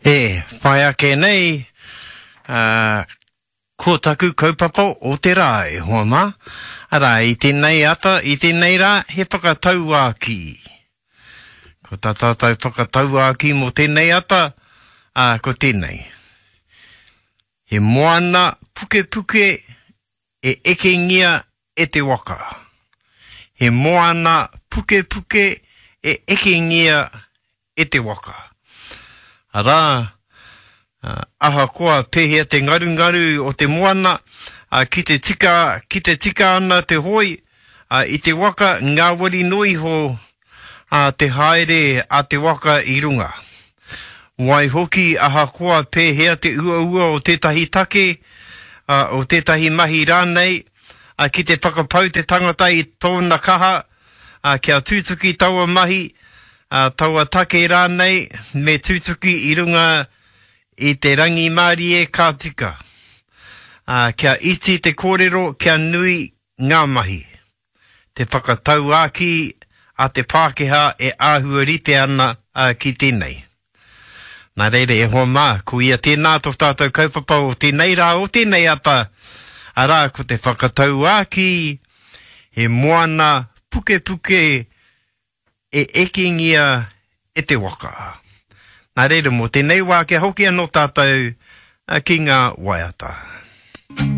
E whai ake nei, ā, ko taku kaupapa o te rā, e hoa mā. Arā, i tēnei ata, i tēnei rā, he whakatauākī. Ko tā tātou whakatauākī mō tēnei ata, ā, ko tēnei. He moana pukepuke e ekengia e te waka. He moana pukepuke e ekengia e te waka. Arā, ahakoa pēhea te ngarungaru o te moana, ki te tika, ki te tika ana te hoe i te waka, ngāwari noa iho te haere a te waka i runga. Waihoki, ahakoa pēhea te uaua o tētahi take, o tētahi mahi rānei, ki te whakapau te tangata i tōna kaha kia tutuki taua mahi, taua take rānei, me tutuki i runga i te rangimārie ka tika. Kia iti te kōrero, kia nui ngā mahi. Te whakatauākī a te Pākehā e āhua rite ana ki tēnei. Nā reira, e hoa mā, ko ia tēnā tō tātou kaupapa o tēnei rā, o tēnei ata, arā, ko te whakatauākī, he moana pukepuke e ekengia e te waka. Nā reira, mō tēnei wā, kia hoki anō tātou ki ngā waiata.